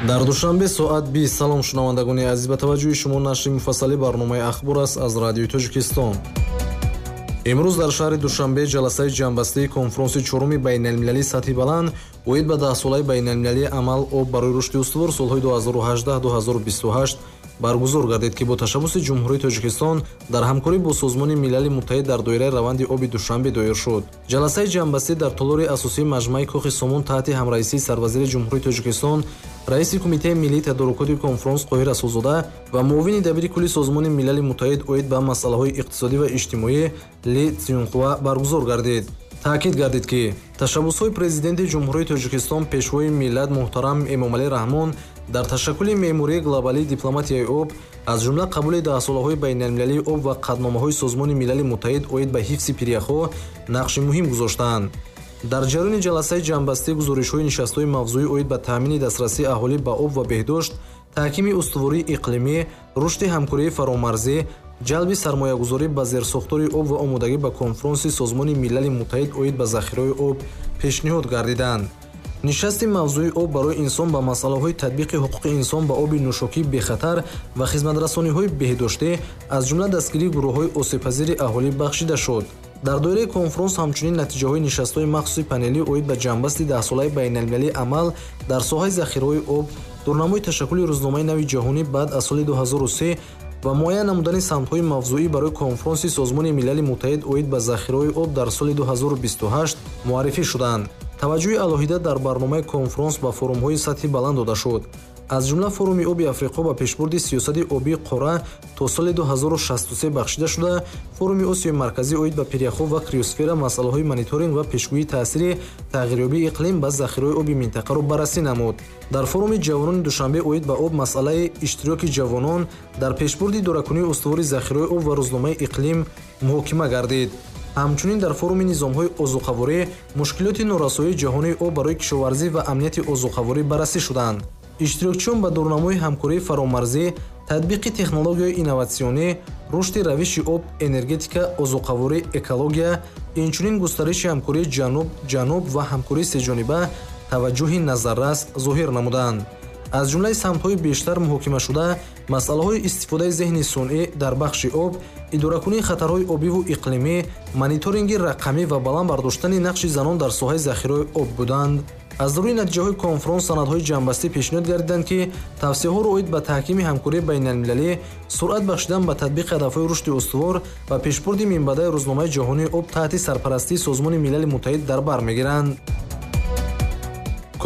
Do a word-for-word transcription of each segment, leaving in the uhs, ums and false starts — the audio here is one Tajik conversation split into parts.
Дар Душанбе соат бист. Салом, шунавандагони азиз, ба таваҷҷӯҳи шумо нашри муфассали барномаи «Ахбор» аст аз Радиои Тоҷикистон. Имрӯз дар шаҳри Душанбе ҷаласаи ҷамъбастии конфронси чоруми байналмилалии сатҳи баланд оид ба даҳсолаи байналмилалии амал «Об барои рушди устувор» солҳои ду ҳазору ҳаждаҳ-ду ҳазору бисту ҳашт баргузор гардид, ки бо ташаббуси Ҷумҳурии Тоҷикистон дар ҳамкорӣ бо Созмони Милали Муттаҳид дар доираи раванди оби Душанбе доир шуд. Ҷаласаи ҷамъбастӣ дар толори асосии маҷмӯаи Кохи Сомон таҳти ҳамраисии сарвазири Ҷумҳурии Тоҷикистон, раиси Кумитаи миллии тадорукоти конфронс Қоҳир Расулзода ва муовини дабири кулли Созмони Милали Муттаҳид оид ба масъалаҳои иқтисодӣ ва иҷтимоӣ Ли Сюнхуа баргузор гардид. Таъкид гардид, ки ташаббусҳои Президенти Ҷумҳурии Тоҷикистон, Пешвои миллат муҳтарам Эмомалӣ Раҳмон дар ташаккули меъмории глобалии дипломатияи об, аз ҷумла қабули даҳсолаҳои байналмилалии об ва қатъномаҳои Созмони Милали Муттаҳид оид ба ҳифзи пиряхҳо нақши муҳим гузоштаанд. Дар ҷараёни ҷаласаи ҷамъбастӣ гузоришҳои нишастҳои мавзӯӣ оид ба таъмини дастрасии аҳолӣ ба об ва беҳдошт, таҳкими устувории иқлимӣ, рушди ҳамкории фаромарзӣ, ҷалби сармоягузорӣ ба зерсохтори об ва омодагӣ ба конфронси Созмони Милали Муттаҳид оид ба захираҳои об пешниҳод гардиданд. Нишасти мавзӯи «Об барои инсон» ба масъалаҳои татбиқи ҳуқуқи инсон ба оби нӯшокии бехатар ва хизматрасониҳои беҳдоштӣ, аз ҷумла дастгирии гурӯҳҳои осебпазири аҳолӣ бахшида шуд. Дар доираи конфронс ҳамчунин натиҷаҳои нишастҳои махсуси панелӣ оид ба ҷамъбасти даҳсолаи байналмилалии амал дар соҳаи захираҳои об, дурнамои ташаккули рӯзномаи нави ҷаҳонӣ баъд аз соли ду ҳазору се ва муайян намудани самтҳои мавзӯӣ барои конфронси Созмони Милали Муттаҳид оид ба захираҳои об дар соли ду ҳазору бисту ҳашт муаррифӣ шуданд. Таваҷҷӯҳи алоҳида дар барномаи конфронс ба форумҳои сатҳи баланд дода шуд, аз ҷумла форуми оби Африқо ба пешбурди сиёсати обии қора то соли ду ҳазору шасту се бахшида шуда, форуми Осиёи Марказӣ оид ба пиряхҳо ва криосфера масъалаҳои мониторинг ва пешгӯии таъсири тағйирёбии иқлим ба захираҳои оби минтақаро баррасӣ намуд. Дар форуми ҷавонони Душанбе оид ба об масъалаи иштироки ҷавонон дар пешбурди идоракунии устувори захираҳои об ва рӯзномаи иқлим муҳокима гардид. Ҳамчунин дар форуми низомҳои озуқаворӣ мушкилоти норасоии ҷаҳонии об барои кишоварзӣ ва амнияти озуқаворӣ баррасӣ шуданд. Иштирокчиён ба дурнамои ҳамкории фаромарзӣ, татбиқи технологияҳои инноватсионӣ, рушди равиши об, энергетика, озуқаворӣ, экология, инчунин густариши ҳамкории ҷануб ҷануб ва ҳамкории сеҷониба таваҷҷӯҳи назаррас зоҳир намуданд. Аз ҷумлаи самтҳои бештар муҳокимашуда масъалаҳои истифодаи зеҳни сунъӣ дар бахши об, идоракунии хатарҳои обиву иқлимӣ, мониторинги рақамӣ ва баланд бардоштани нақши занон дар соҳаи захираҳои об буданд. Аз рӯи натиҷаҳои конфронс санадҳои ҷамъбастӣ пешниҳод гардиданд, ки тавсияҳоро оид ба таҳкими ҳамкории байналмилалӣ, суръат бахшидан ба татбиқи ҳадафҳои рушди устувор ва пешбурди минбаъдаи рӯзномаи ҷаҳонии об таҳти сарпарастии Созмони Милали Муттаҳид дар бар мегиранд.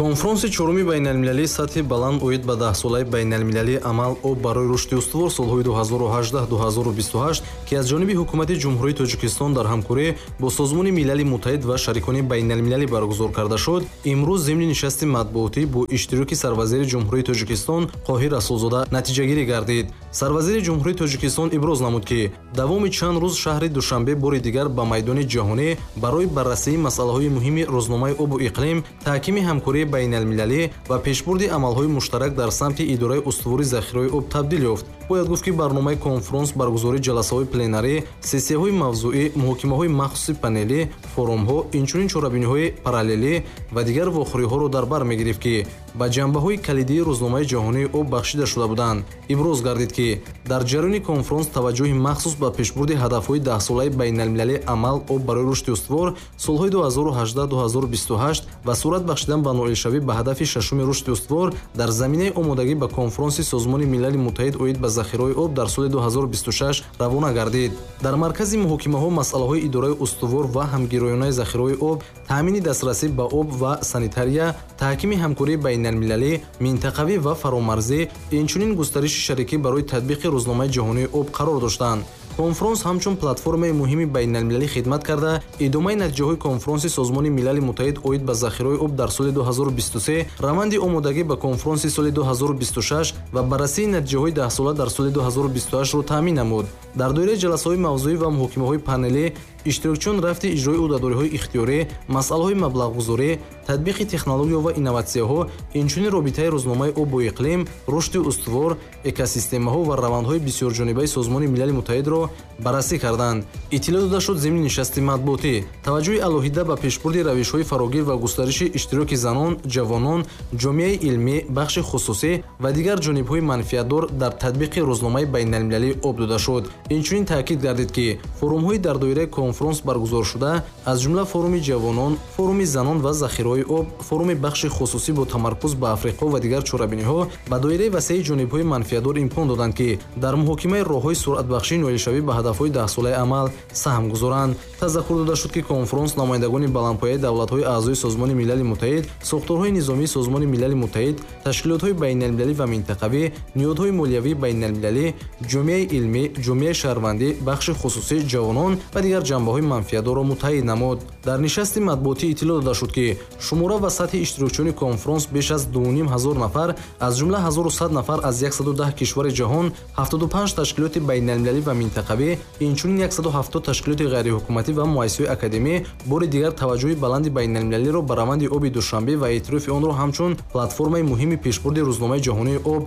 Конфронси чоруми байналмилалии сатҳи баланд оид ба даҳсолаи байналмилалии амал «Об барои рушди устувор» солҳои ду ҳазору ҳаждаҳ-ду ҳазору бисту ҳашт, ки аз ҷониби Ҳукумати Ҷумҳурии Тоҷикистон дар ҳамкорӣ бо Созмони Милали Муттаҳид ва шарикони байналмилалӣ баргузор карда шуд, имрӯз зимни нишасти матбуотӣ бо иштироки сарвазири Ҷумҳурии Тоҷикистон Қоҳир Расулзода натиҷагирӣ гардид. Сарвазири Ҷумҳурии Тоҷикистон иброз намуд, ки давоми чанд рӯз шаҳри Душанбе бори дигар ба майдони ҷаҳонӣ барои баррасии масъалаҳои муҳими рӯзномаи обу иқлим, таҳкими ҳамкории байналмилалӣ ва пешбурди амалҳои муштарак дар самти идораи устувори захираҳои об табдил ёфт. Бояд гуфт, ки барномаи конфронс баргузории ҷаласаҳои пленарӣ, сессияҳои мавзӯӣ, муҳокимаҳои махсуси панелӣ, форумҳо, инчунин чорабиниҳои параллелӣ ва дигар вохӯриҳоро дар бар мегирифт, ки ба ҷанбаҳои калидии рӯзномаи ҷаҳонии об бахшида шуда буданд. Иброз гардид, ки дар ҷараёни конфронс таваҷҷӯҳи махсус ба пешбурди ҳадафҳои даҳсолаи байналмилалии амал «Об барои рушди устувор» солҳои ду ҳазору ҳаждаҳ-ду ҳазору бисту ҳашт ва суръат бахшидан ба ноилшавӣ ба ҳадафи шашуми рушди устувор дар заминаи омодагӣ ба конфронси Созмони Милали Муттаҳид оид ба захираҳои об дар соли ду ҳазору бисту шаш равона гардид. Дар маркази муҳокимаҳо масъалаҳои идораи устувор ва ҳамгироёнаи захираҳои об, таъмини дастрасӣ ба об ва санитария, таҳкими ҳамкории байналмилалӣ, минтақавӣ ва фаромарзӣ, инчунин густариши шарикӣ барои татбиқи рӯзномаи ҷаҳонии об қарор доштанд. Конфронс ҳамчун платформаи муҳими байналмилалӣ хидмат карда, идомаи натиҷаҳои конфронси Созмони Милали Муттаҳид оид ба захираҳои об дар соли ду ҳазору бисту се, раванди омодагӣ ба конфронси соли ду ҳазору бисту шаш ва баррасии натиҷаҳои даҳсола дар соли ду ҳазору бисту ҳаштро таъмин намуд. Дар доираи ҷаласаҳои мавзӯӣ ва муҳокимаҳои панелӣ Иштирокчиён рафти иҷрои ӯҳдадориҳои ихтиёрӣ, масъалаҳои маблағгузорӣ, татбиқи технология ва инноватсияҳо, инчунин робитаи рӯзномаи об бо иқлим, рушди устувор, экосистемаҳо ва равандҳои бисёрҷонибаи Созмони Милали Муттаҳидро баррасӣ карданд. Иттилоъ дода шуд зимни нишасти матбуотӣ. Таваҷҷӯҳи алоҳида ба пешбурди равишҳои фарогир ва густариши иштироки занон, ҷавонон, ҷомеаи илмӣ, бахши хусусӣ ва дигар ҷонибҳои манфиатдор дар татбиқи рӯзномаи байналмилалии об дода шуд. Инчунин таъкид гардид, ки форумҳои дар доираи конфронс баргузоршуда, аз ҷумла форуми ҷавонон, форуми занон ва захираҳои об, форуми бахши хусусӣ бо тамаркуз ба Африқо ва дигар чорабиниҳо ба доираи васеи ҷонибҳои манфиатдор имкон доданд, ки дар муҳокимаи роҳҳои суръатбахшии ноилшавӣ ба ҳадафҳои даҳсолаи амал саҳм гузоранд. Тазаккур дода шуд, ки конфронс намояндагони баландпояи давлатҳои аъзои Созмони Милали Муттаҳид, сохторҳои низомии Созмони Милали Муттаҳид, ташкилотҳои байналмилалӣ ва минтақавӣ, ниҳодҳои молиявии байналмилалӣ, ҷомеаи илмӣ, ҷомеаи шаҳрвандӣ, бахши хусусӣ, ҷавонон ва дигар ҷанбаҳои манфиатдорро муттаҳид намуд. Дар нишасти матбуотӣ иттилоъ дода шуд, ки шумора ва сатҳи иштирокчиёни конфронс беш аз дуним ҳазор нафар, аз ҷумла ҳазору сад нафар аз яксаду даҳ кишвари ҷаҳон, ҳафтоду панҷ ташкилоти байналмилалӣ ва минтақавӣ, инчунин яксаду ҳафтод ташкилоти ғайриҳукуматӣ ва муассисаҳои академӣ бори дигар таваҷҷӯҳи баланди байналмилалиро ба раванди оби Душанбе ва эътирофи онро ҳамчун платформаи муҳими пешбурди рӯзномаи ҷаҳонии об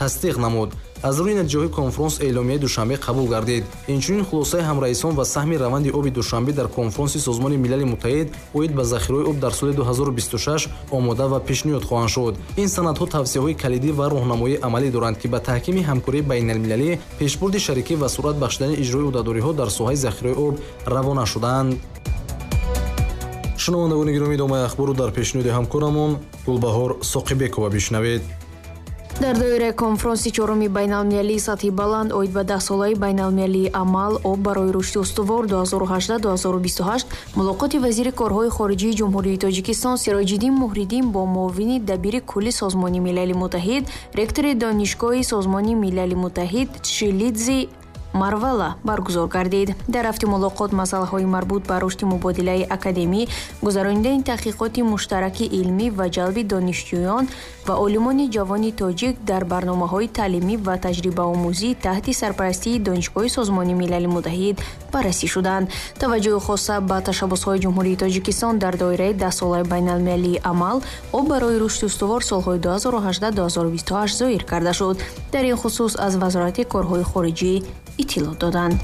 тасдиқ намуд. Аз рӯи натиҷаҳои конфронс эъломияи Душанбе қабул гардид. Инчунин хулосаи ҳамраисон ва саҳми раванди оби Душанбе дар конфронси Созмони Милали Муттаҳид оид ба захираҳои об дар соли ду ҳазору бисту шаш омода ва пешниҳод хоҳанд шуд. Ин санадҳо тавсияҳои калидӣ ва роҳнамоии амалӣ доранд, ки ба таҳкими ҳамкории байналмилалӣ, пешбурди шарикӣ ва суръат бахшидани иҷрои ӯҳдадориҳо дар соҳаи захираҳои об равона шуданд. Шунавандагони гиромӣ, идомаи ахборро дар пешниҳоди ҳамкорамон Гулбаҳор Соқибекова бишнавед. Дар доираи конфронси чоруми байналмилалии сатҳи баланд оид ба даҳсолаи байналмилалии амал об барои рушди устувор ду ҳазору ҳаждаҳ ду ҳазору бисту ҳашт мулоқоти вазири корҳои хориҷии Ҷумҳурии Тоҷикистон Сироҷиддин Муҳриддин бо муовини дабири кулли Созмони Милали Муттаҳид, ректори Донишгоҳи Созмони Милали Муттаҳид Тшилидзи Марвала баргузор гардид. Дар рафти мулоқот масъалаҳои марбут ба рушди мубодилаи академӣ, гузаронидани таҳқиқоти муштараки илмӣ ва ҷалби донишҷӯён ва олимони ҷавони тоҷик дар барномаҳои таълимӣ ва таҷрибаомӯзӣ таҳти сарпарастии Донишгоҳи Созмони Милали Муттаҳид баррасӣ шуданд. Таваҷҷӯҳи хоса ба ташаббусҳои Ҷумҳурии Тоҷикистон дар доираи даҳсолаи байналмилалии амал об барои рушди устувор солҳои ду ҳазору ҳаждаҳ ду ҳазору бисту ҳашт зоҳир карда шуд. Дар ин хусус аз Вазорати корҳои хориҷӣ иттилоъ доданд.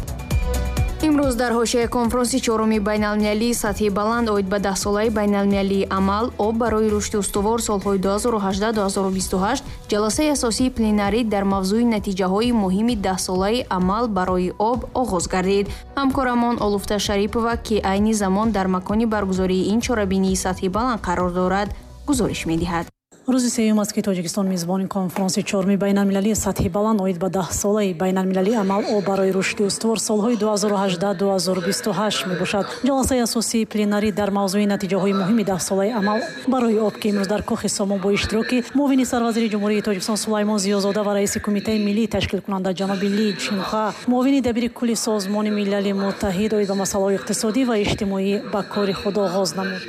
Имрӯз дар ҳошияи конфронси чоруми байналмилалии сатҳи баланд оид ба даҳсолаи байналмилалии амал об барои рушди устувор солҳои ду ҳазору ҳаждаҳ ду ҳазору бисту ҳашт ҷаласаи асосии пленарӣ дар мавзӯи натиҷаҳои муҳими даҳсолаи амал барои об оғоз гардид. Ҳамкорамон Олуфта Шарипова, ки айни замон дар макони баргузории ин чорабинии сатҳи баланд қарор дорад, гузориш медиҳад. Рӯзи сеюм аст, ки Тоҷикистон мизбони конфронси чоруми байналмилалии сатҳи баланд оид ба даҳсолаи байналмилалии амал об барои рушди устувор солҳои ду ҳазору ҳаждаҳ ду ҳазору бисту ҳашт мебошад. Ҷаласаи асосии пленарӣ дар мавзӯи натиҷаҳои муҳими даҳсолаи амал барои об, ки имрӯз дар Кохи Сомон бо иштироки муовини сарвазири Ҷумҳурии Тоҷикистон Сулаймон Зиёзода ва раиси Кумитаи миллии ташкилкунанда ҷаноби Ли Чинха, муовини дабири кулли Созмони Милали Муттаҳид оид ба масъалаҳои иқтисодӣ ва иҷтимоӣ ба кори худ оғоз намуд.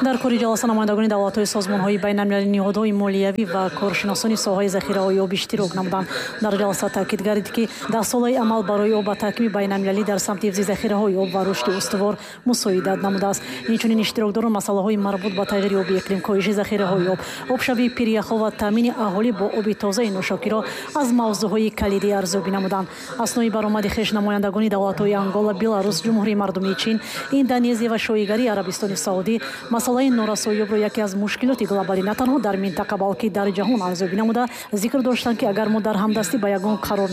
Дар кори ҷаласа намояндагони давлатҳои созмонҳои байналмилалӣ, ниҳодҳои молиявӣ ва коршиносони соҳаи захираҳои об иштирок намуданд. Дар ҷаласа таъкид гардид, ки даҳсолаи амал барои об ба таҳкими байналмилалӣ дар самти ҳифзи захираҳои об ва рушди устувор мусоидат намудааст. Инчунин иштирокдорон масъалаҳои марбут ба тағйири оби иқлим, коҳиши захираҳои об, обшавии пиряхҳо ва таъмини аҳолӣ бо оби тозаи нӯшокиро аз мавзӯъҳои калидӣ арзёбӣ намуданд. Аснои баромади хеш намояндагони давлатҳои Ангола, Беларус, Ҷумҳурии Мардумии Чин, Индонезия ва Шоҳигарии Арабистони Саудӣ масъалаи норасоии обро яке аз мушкилоти глобалӣ на танҳо дар минтақа, балки дар ҷаҳон арзёбӣ намуда, зикр доштанд, ки агар мо дар ҳамдастӣ ба ягон қарор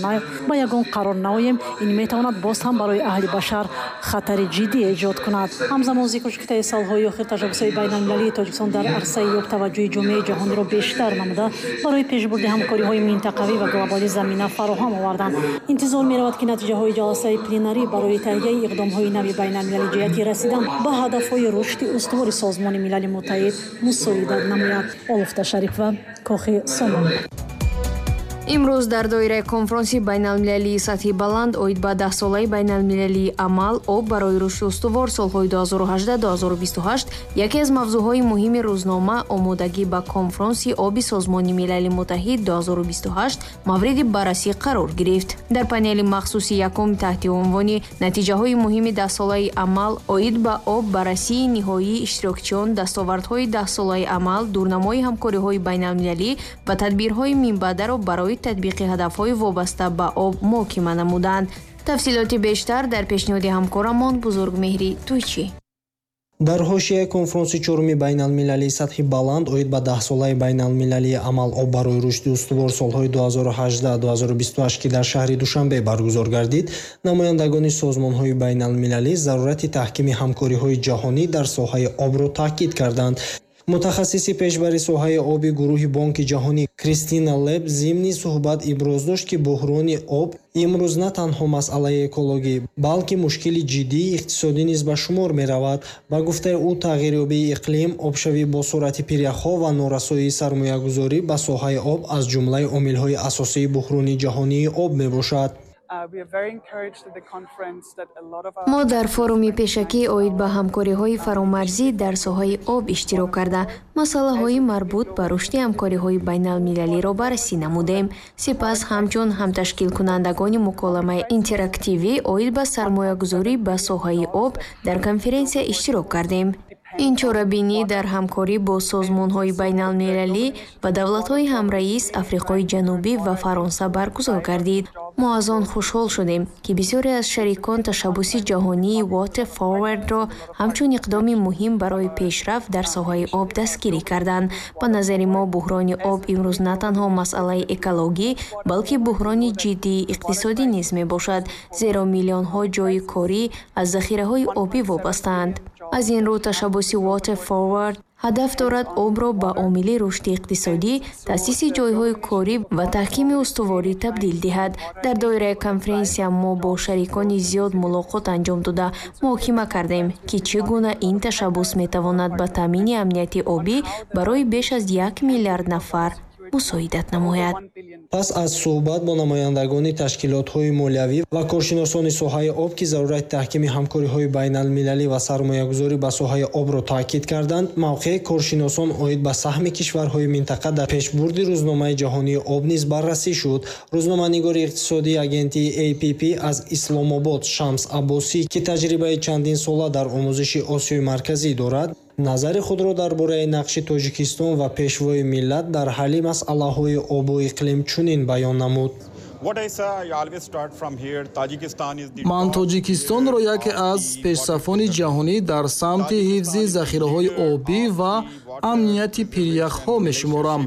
ба ягон қарор наоем, ин метавонад боз ҳам барои аҳли башар хатари ҷиддӣ эҷод кунад. Ҳамзамон зикр шуд, ки таи солҳои охир ташаббусҳои байналмилалии Тоҷикистон дар арсаи об таваҷҷӯҳи ҷомеаи ҷаҳониро бештар намуда, барои пешбурди ҳамкориҳои минтақавӣ ва глобалӣ замина фароҳам оварданд. Интизор меравад, ки натиҷаҳои ҷаласаи пленарӣ барои таҳияи иқдомҳои нави байналмилалӣ ҷиҳати расидан ба ҳадафҳои рушди устувори Созмони Милали Муттаҳид мусоидат намояд. Олуфта Шарипова, Кохи Сомон. Имрӯз дар доираи конфронси байналмилалии сатҳи баланд оид ба даҳсолаи байналмилалии амал об барои рушди устувор солҳои ду ҳазору ҳаждаҳ - ду ҳазору бисту ҳашт яке аз мавзӯъҳои муҳими рӯзнома омодагӣ ба конфронси оби Созмони Милали Муттаҳид ду ҳазору бисту ҳашт мавриди баррасӣ қарор гирифт. Дар панели махсуси якум таҳти унвони натиҷаҳои муҳими даҳсолаи амал оид ба об баррасии ниҳоии иштирокчиён, дастовардҳои даҳсолаи амал, дурнамои ҳамкориҳои байналмилалӣ ва тадбирҳои минбаъдаро барои татбиқи ҳадафҳои вобаста ба об муҳокима намуданд. Тафсилоти бештар дар пешниҳоди ҳамкорамон Бузургмеҳри Тӯйчӣ. Дар ҳошияи конфронси чоруми байналмилалии сатҳи баланд оид ба даҳсолаи байналмилалии амал об барои рушди устувор солҳои ду ҳазору ҳаждаҳ - ду ҳазору бисту ҳашт, ки дар шаҳри Душанбе баргузор гардид, намояндагони созмонҳои байналмилалӣ зарурати таҳкими ҳамкориҳои ҷаҳонӣ дар соҳаи обро таъкид карданд. Мутахассиси пешбари соҳаи оби гурӯҳи Бонки Ҷаҳонӣ Кристина Леб зимни суҳбат иброз дошт, ки буҳрони об имрӯз на танҳо масъалаи экологӣ, балки мушкили ҷиддии иқтисодӣ низ ба шумор меравад. Ба гуфтаи ӯ, тағйирёбии иқлим, обшавӣ бо суръати пиряхҳо ва норасоии сармоягузорӣ ба соҳаи об аз ҷумлаи омилҳои асосии буҳрони ҷаҳонии об мебошад. Мо дар форуми пешакӣ оид ба ҳамкориҳои фаромарзӣ дар соҳаи об иштирок карда, масъалаҳои марбут ба рушди ҳамкориҳои байналмилалиро баррасӣ намудем. Сипас ҳамчун ҳамташкилкунандагони муколамаи интерактивӣ оид ба сармоягузорӣ ба соҳаи об дар конференсия иштирок кардем. Ин чорабинӣ дар ҳамкорӣ бо созмонҳои байналмилалӣ ва давлатҳои ҳамраис Африқои Ҷанубӣ ва Фаронса баргузор гардид. Мо аз он хушҳол шудем, ки бисёре аз шарикон ташаббуси ҷаҳонии Water Forward-ро ҳамчун иқдоми муҳим барои пешрафт дар соҳаи об дастгирӣ карданд. Ба назари мо, буҳрони об имрӯз на танҳо масъалаи экологӣ, балки буҳрони ҷиддии иқтисодӣ низ мебошад, зеро миллионҳо ҷойи корӣ аз захираҳои обӣ вобастаанд. Аз ин рӯ ташаббуси Water Forward ҳадаф дорад обро ба омили рушди иқтисодӣ, таъсиси ҷойҳои корӣ ва таҳкими устуворӣ табдил диҳад. Дар доираи конференсия мо бо шарикони зиёд мулоқот анҷом дода муҳокима кардем, ки чӣ гуна ин ташаббус метавонад ба таъмини амнияти обӣ барои беш аз як миллиард нафар мусоидат намояд. Пас аз суҳбат бо намояндагони ташкилотҳои молиявӣ ва коршиносони соҳаи об, ки зарурати таҳкими ҳамкориҳои байналмилалӣ ва сармоягузорӣ ба соҳаи обро таъкид карданд, мавқеи коршиносон оид ба саҳми кишварҳои минтақа дар пешбурди рӯзномаи ҷаҳонии об низ баррасӣ шуд. Рӯзноманигори иқтисодии агентии эй пи пи аз Исломобод Шамс Аббосӣ, ки таҷрибаи чандин сола дар омӯзиши Осиёи Марказӣ дорад, назари худро дар бораи нақши Тоҷикистон ва пешвои миллат дар ҳалли масъалаҳои обу иқлим чунин баён намуд. Ман Тоҷикистонро яке аз пешсафони ҷаҳонӣ дар самти ҳифзи захираҳои обӣ ва амнияти пиряхҳо мешуморам.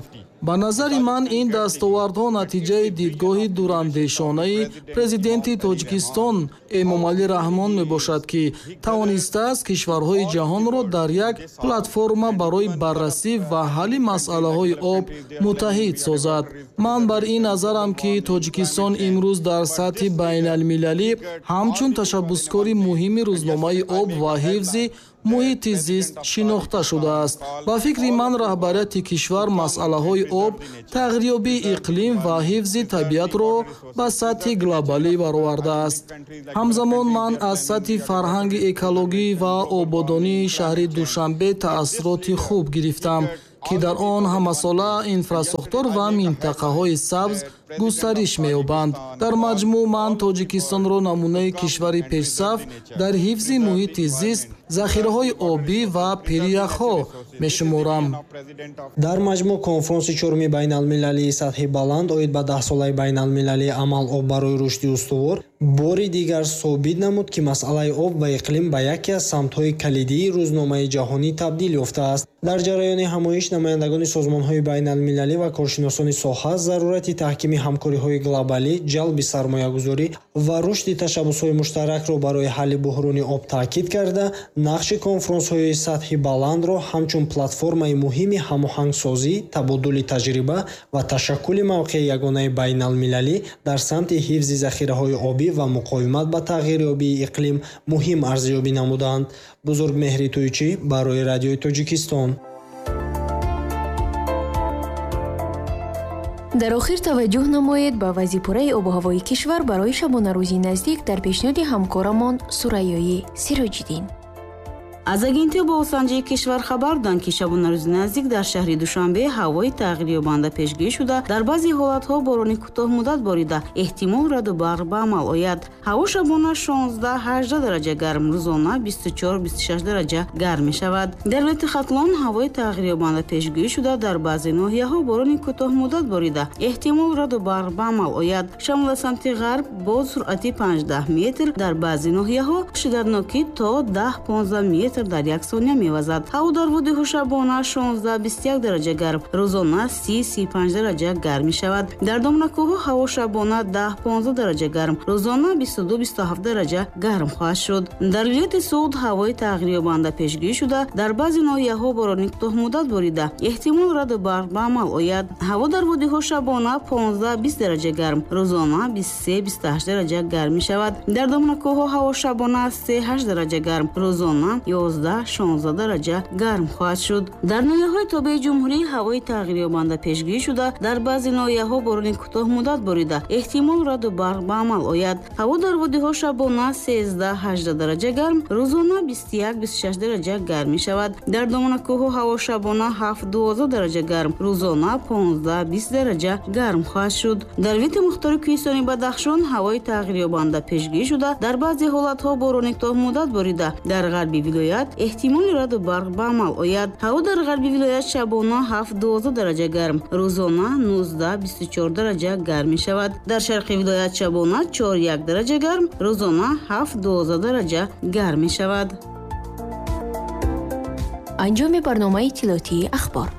Ба назари ман ин дастовардҳо натиҷаи дидгоҳи дурандешонаи президенти Тоҷикистон Эмомалӣ Раҳмон мебошад, ки тавонистааст кишварҳои ҷаҳонро дар як платформа барои баррасӣ ва ҳалли масъалаҳои об муттаҳид созад. Ман бар ин назарам, ки Тоҷикистон имрӯз дар сатҳи байналмилалӣ ҳамчун ташаббускори муҳими рӯзномаи об ва ҳифзи муҳити зист шинохта шудааст. Ба фикри ман, раҳбарияти кишвар масъалаҳои об, тағйирёбии иқлим ва ҳифзи табиатро ба сатҳи глобалӣ баровардааст. Ҳамзамон ман аз сатҳи фарҳанги экологӣ ва ободонии шаҳри Душанбе таассуроти хуб гирифтам, ки дар он ҳамасола инфрасохтор ва минтақаҳои сабз густариш меёбанд. Дар маҷмӯъ ман Тоҷикистонро намунаи кишвари пешсаф дар ҳифзи муҳити зист, захираҳои обӣ ва пиряхҳо мешуморам. Дар маҷмӯъ конфронси чоруми байналмилалии сатҳи баланд оид ба даҳсолаи байналмилалии амал об барои рушди устувор бори дигар собит намуд, ки масъалаи об ва иқлим ба яке аз самтҳои калидии рӯзномаи ҷаҳонӣ табдил ёфтааст. Дар ҷараёни ҳамоиш намояндагони созмонҳои байналмилалӣ ва коршиносони соҳа зарурати таҳкими ҳамкориҳои глобалӣ, ҷалби сармоягузорӣ ва рушди ташаббусҳои муштаракро барои ҳалли буҳрони об таъкид карда, нақши конфронсҳои сатҳи баландро ҳамчун платформаи муҳими ҳамоҳангсозӣ, табодули таҷриба ва ташаккули мавқеи ягонаи байналмилалӣ дар самти ҳифзи захираҳои обӣ ва муқовимат ба тағйирёбии иқлим муҳим арзёбӣ намуданд. Бузургмеҳри Тӯйчӣ барои Радиои Тоҷикистон. Дар охир таваҷҷӯҳ намоед ба вазъи пурраи обу ҳавои кишвар барои шабонарӯзи наздик дар пешниҳоди ҳамкорамон Сурайёи Сироҷиддин. Аз агентии обуҳавосанҷии кишвар хабар доданд, ки шабонарӯзи наздик дар шаҳри Душанбе ҳавои тағйирёбанда пешгӯӣ шуда, дар баъзе ҳолатҳо борони кӯтоҳмуддат борида, эҳтимол раду барқ ба амал ояд. Ҳаво шабона шонздаҳ ҳаждаҳ дараҷа гарм, рӯзона бисту чор бисту шаш дараҷа гарм мешавад. Дар вилояти Хатлон ҳавои тағйирёбанда пешгӯӣ шуда, дар баъзе ноҳияҳо борони кӯтоҳмуддат борида, эҳтимол раду барқ ба амал ояд. Шамола самти ғарб бо суръати панҷдаҳ метр, дар баъзе ноҳияҳо шиддатнокӣ то даҳ понздаҳ метр дар як сония мевазад. Ҳаво дар водиҳо шабона шонздаҳ бисту як дараҷа гарм, рӯзона си си панҷ дараҷа гарм мешавад. Дар домнакӯҳҳо ҳаво шабона даҳ понздаҳ дараҷа гарм, рӯзона бисту ду бисту ҳафт дараҷа гарм хоҳад шуд. Дар вилояти Суғд ҳавои тағйирёбанда пешгӯӣ шуда, дар баъзе ноҳияҳо борони кӯтоҳмуддат борида, эҳтимол раду барқ ба амал ояд. Ҳаво дар водиҳо шабона понздаҳ бист дараҷа гарм, рӯзона бисту се бисту ҳашт дараҷа гарм мешавад. Дар домнакӯҳҳо ҳаво шабона се ҳашт дараҷа гарм, рӯзона ёздаҳ шонздаҳ дараҷа гарм хоҳад шуд. Дар ноҳияҳои тобеи ҷумҳурӣ ҳавои тағйирёбанда пешгӯӣ шуда, дар баъзе ноҳияҳо борони кӯтоҳмуддат борида, эҳтимол раду барқ ба амал ояд. Ҳаво дар водиҳо шабона сездаҳ ҳаждаҳ дараҷа гарм, рӯзона бисту як бисту шаш дараҷа гарм мешавад. Дар доманакӯҳҳо ҳаво шабона ҳафт дувоздаҳ дараҷа гарм, рӯзона понздаҳ бист дараҷа гарм хоҳад шуд. Дар вилояти мухтори кӯҳистони Бадахшон ҳавои тағйирёбанда пешгӯӣ шуда, дар баъзе ҳолатҳо борони кӯтоҳмуддат борида, дар ғарби вилоят эҳтимоли раду барқ ба амал ояд. Ҳаво дар ғарби вилоят шабона ҳафт дувоздаҳ дараҷа гарм, рӯзона нуздаҳ бисту чор дараҷа гарм мешавад. Дар шарқи вилоят шабона чор як дараҷа гарм, рӯзона ҳафт дувоздаҳ дараҷа гарм мешавад. Анҷоми барномаи иттилоотии ахбор.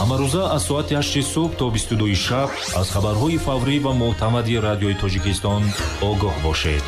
Ҳамарӯза аз соати ҳашти субҳ то бисту дуи шаб аз хабарҳои фаврӣ ва мӯътамади радиои Тоҷикистон огоҳ бошед.